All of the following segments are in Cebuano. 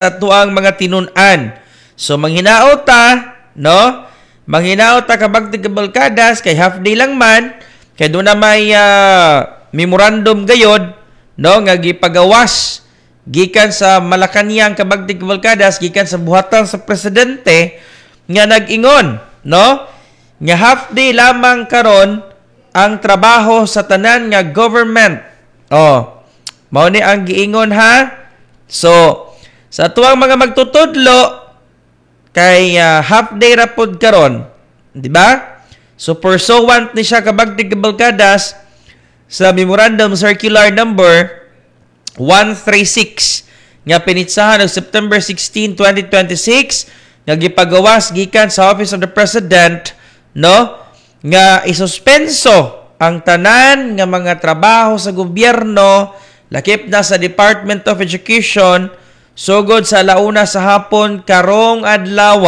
Atuang mga tinun-an. So manghinaot ta, no? Manghinaot ta, kabagtig kabalkadas, kay half day lang man, kay doon na may memorandum gayod, no, nga gipagawas gikan sa Malacañang, kabagtig kabalkadas, gikan sa buhatan sa presidente nga nag-ingon, no, nga half day lamang karon ang trabaho sa tanan nga government. Oh, mao ni ang giingon ha. So, sa atuang mga magtutudlo kay half day ra pod karon, di ba? So pursuant ni siya, kabagtig kabalkadas, sa Memorandum Circular number 136 nga pinitsahan og September 16, 2026 nga gipagawas gikan sa Office of the President, no, nga isuspenso ang tanan nga mga trabaho sa gobyerno, lakip na sa Department of Education, sugod sa 1:00 sa hapon karong adlaw,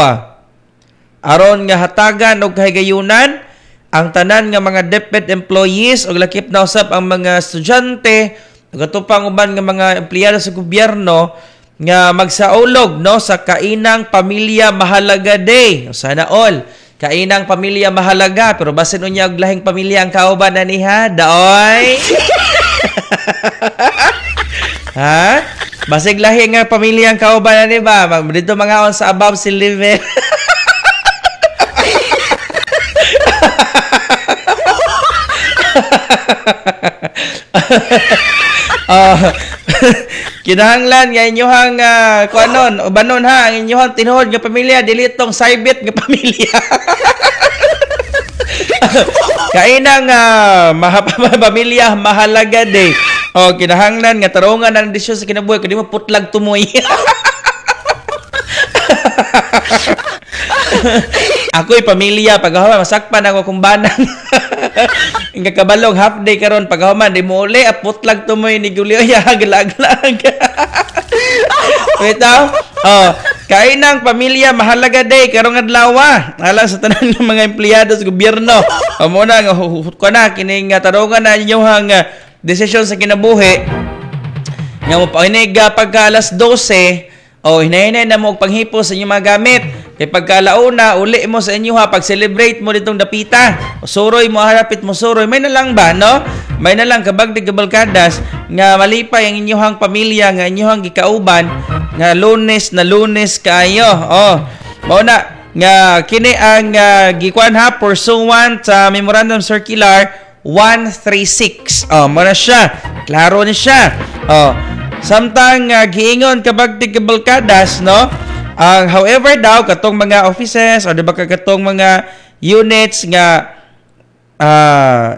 aron nga hatagan og kahigayunan ang tanan nga mga DepEd employees ug lakip na usab ang mga estudyante ug ato pang uban nga mga empleyado sa gobyerno nga magsaulog, no, sa Kainang Pamilya Mahalaga Day. Sana all. Kainang Pamilya Mahalaga, pero basin unya og lahing pamilya ang kauban na niha, daoy. Ha? Basig lahi nga pamilya ang kauban na ni ba? Dito mga on sa above si level. Kinahanglan nga inyuhang kuanon, ubanon ha, ang inyuhang tinuod nga pamilya, dili tong saybit nga pamilya. Kainang pamilya mahalaga day. Oh, kinahanglan nga tarungan ang desisyon sa kinabuhi kundi mo putlag tumoy. Ako'y pamilya, paghahuman masakpan ako kung banang. Nga kabalog half day karon, paghahuman di mo uli, putlag tumoy ni Julio ya glaglag. Wait. Oh, kainang pamilya mahalaga day karong adlaw. Alang sa tanan ng mga empleyado sa gobyerno. O mo na nga ko na kining tarungan na inyong desisyon sa kinabuhi. Nga mo painig pagka alas 12, oh, hinay-hinay na mo og panghipo sa inyong mga gamit. Kay pagka 1:00, uli mo sa inyo ha, pag-celebrate mo ditong dapita. Suroy mo, harapit mo suroy. May na lang ba, no? May na lang, kabagdig kabalkadas, nga malipay ang inyong pamilya, nga inyong gikauban, nga Lunes na Lunes kayo. Oh, mao na, nga kini ang gikuan ha, pursuant sa Memorandum Circular 136. Oh, mao na siya. Klaro ni siya. Oh, samtang giingon, kabagtig kabalkadas, no? Ang however daw katong mga offices o di ba katong mga units nga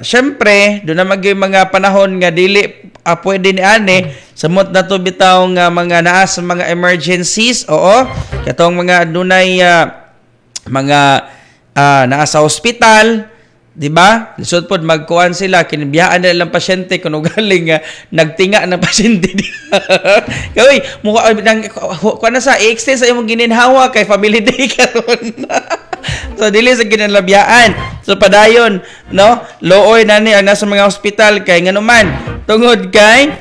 syempre do na magyud mga panahon nga dili pwede ni ani samot na to bitaw nga mga naa sa mga emergencies, oo, katong mga dunay mga naa sa ospital, di ba? Lisod pod magkuan sila, kinibiyaan nila lang pasyente kuno galing nagtinga ng pasyente. Kay mukha nang kuan na sa i-extend sa imong gininhawa kay family day karon. So dili sa kinalabiyaan. So padayon, no? Looy na ni ang nasa mga ospital kay nganuman tungod kay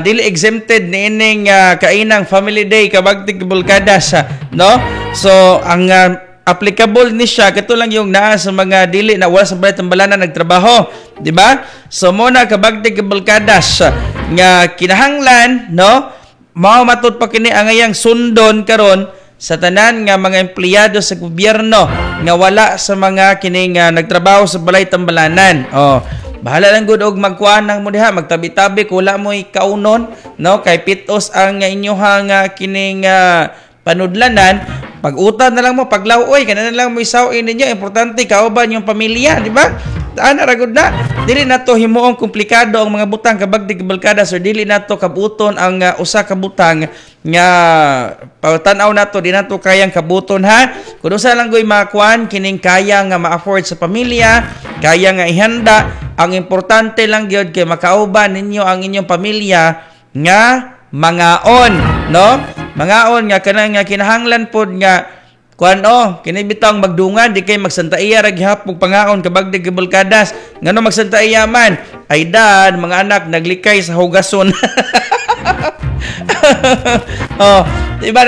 dili exempted niining kainang family day, kabagtig kabalkadas, no? So ang applicable ni siya kato lang yung naa sa mga dili na wala sa balay tambalanan nagtrabaho, di ba? So mo na, kabagtig kabalkadas, nga kinahanglan, no, mao matud pa kini ang ngayang sundon karon sa tanan nga mga empleyado sa gobyerno nga wala sa mga kining nagtrabaho sa balay tambalanan. Oh, bahala lang gud og magkuan nang mo diha, magtabi-tabi kung wala mo'y kaunon, no, kay pitos ang inyohang kining panudlanan. Pag-utan na lang mo, paglaw-oy, kana na lang mo isaw-in ninyo, importante kauban yung pamilya, di ba? Ana ra gud na. Dili nato himuong komplikado ang mga butang, kabagdig kabalkada, sir, dili nato kabuton ang usa ka butang nga tan-aw nato di nato kayang kabuton ha. Kun usa lang goy makuan kining kaya nga ma-afford sa pamilya, kaya nga ihanda, ang importante lang gyud kay makauban ninyo ang inyong pamilya nga mangaon, no? Mangaon nga kanang nga kinahanglan pod nga kuan, oh, kini bitawng magdungan di kay magsantaiya ra gihapon pangaon, kabagdig kabalkadas. Ngano magsantaiya man ay dan mga anak naglikay sa hugason. Oh, Di ba?